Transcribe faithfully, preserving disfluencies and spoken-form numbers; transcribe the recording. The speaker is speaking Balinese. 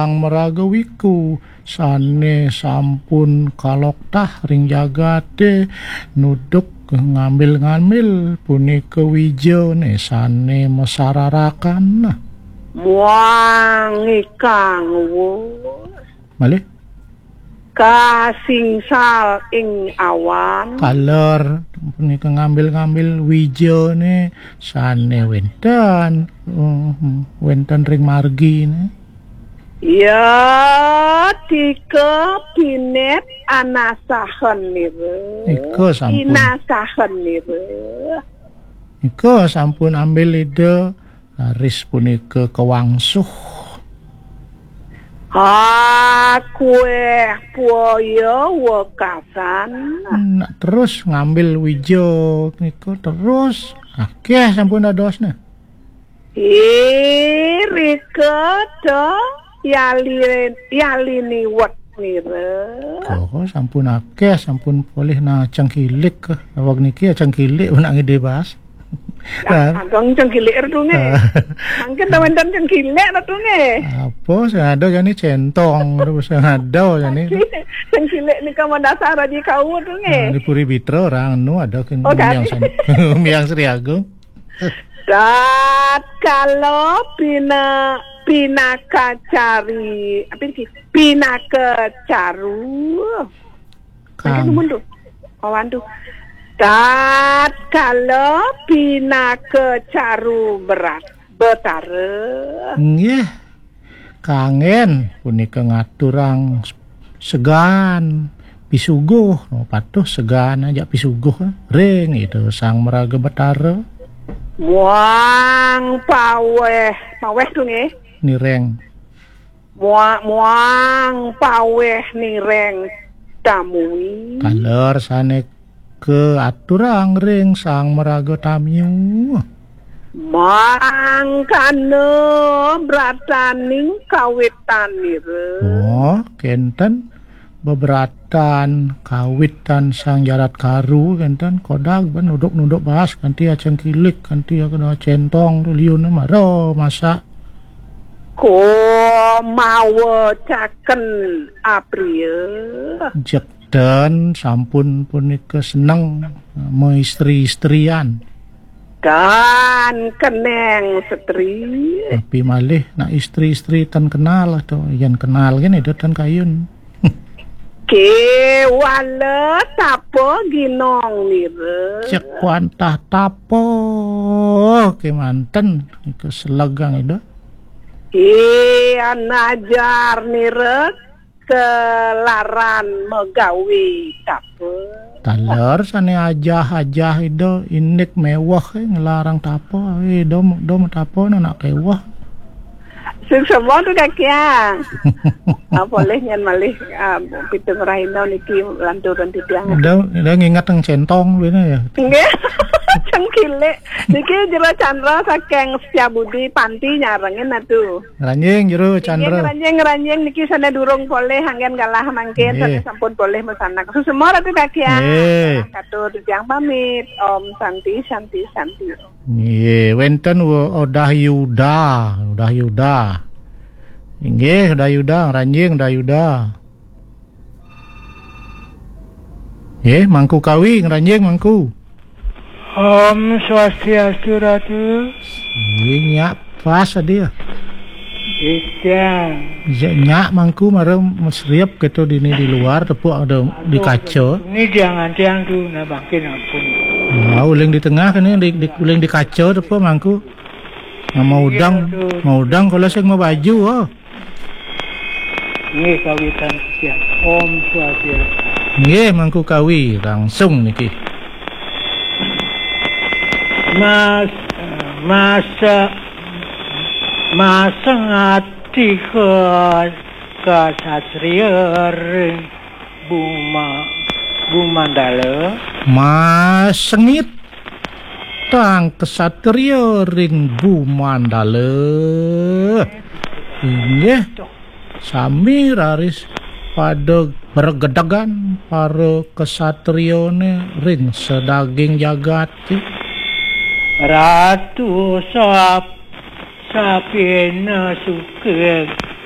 Sang Maraga Wiku, sane sampun kaloktah ring jagate, nuduk ngambil-ngambil punika wijane sane masararakan. Muang ikang wus. Malih? Kasingsal ing awan. Kaler punika ngambil-ngambil wijane sane wenten, uh, wenten ring margine. Ya, tika pinet anasahen nira. Nika sampun. Inasahen nira. Nika sampun ambil Ida, raris punika kawangsuh. Akueh puaya wekasan. Nak terus ngambil wija nika terus. Akeh sampun dadosne. Irika ta yali, yali niwet nira. Kok sampun akeh, sampun polih na cengkilik. Awak niki ya cengkilik nak ngide bahas. Nah, ageng cengkilik tu nge. Ah. Mangkin ta wenten cengkilik tu nge. Apa sing ada jani centong, terus sing ada jani. Cengkilik nika madasar aji kau tu nge. Nah, di Puri Bitra orang anu ada kan. Oh, miang san-, miang Sri Agung. Tatkala pina-, pinaka cari, apa ini? Pinaka caru. Kan. Mangkin dumun tu. Awan tu. Tatkala pinaka caru berat, betara. Nggih. Kangen punika ngaturang segan pisuguh. Oh, patuh segan ajak pisuguh ring Ida Sang Maraga Betara. Muang paweh, paweh tu nggih. Nireng. Mua-, muang paweh nireng tamui. Taler sane kaaturang ring Sang Maraga Tamiu. Mangkana brataning kawitanira. Oh, kenten bebratan kawitan Sang Jarat Karu, kenten kodag ben nuduk-nuduk bahas kanti acengkilik, kanti akena centong tu liun mara masak. Ko mawa caken apria. Jek dan sampun punika seneng maistri-istrian. Dan keneng setri. Tapi malih nak istri-istri tan kenal atau yen kenal kan itu tan kayun. Kewala tapa ginong nira. Cek wantah tapa kemanten ke selegang itu. Ki anajar nira kelaran megawi tapa. Taler sane ajah-ajah ida indik mewah, eh, ngelarang tapa, eh, dom, dom tapa nak kewah. Suksma tu kakiang. Ah, polih nyan malih, ah, pitung rahina niki lanturun titiang. Dah, dah ngingat yang centong bina ya. Nggih. Cengkilik. Niki Jero Chandra saking Setiabudi Panti nyarengin atu. Ngranjing Jero Chandra. Ngranjing, ngranjing niki sane durung polih anggen galah mangkin, nggih, sane sampun polih masanak. Suksma Ratu Kakiang. Nggih. Katur titiang pamit. Om Santi, Santi, Santi. Nggih, wenten Udah Yuda, Udah Yuda. Inggih, Udah Yuda, ngranjing Udah Yuda. Nggih, Mangku Kawi, ngranjing Mangku. Om Swastiastu, Ratu. Nggih, nyak pas tadi ya. Ikan. Nyak Mangku mara mesriep gitu dini di luar, tepuk ada di kaca. Ini jangan tiang tu, nah bangkin ampun. Nah, uling di tengah kan, di, di, uling di kaca tepuk Mangku. Nah, mau udang, mau udang kalau sing mau baju, oh. Nggih, kawitan sekian. Om Swastiastu. Nggih, Mangku Kawi, langsung niki. Mas, masa, masa ngati ke kasatria ring Buma-, Bumandala. Masengit tang kesatria ring Bumandala. Inggih, sami raris pada bergedegan para kesatriane ring sedaging jagate. Ratu sap-, sapina suking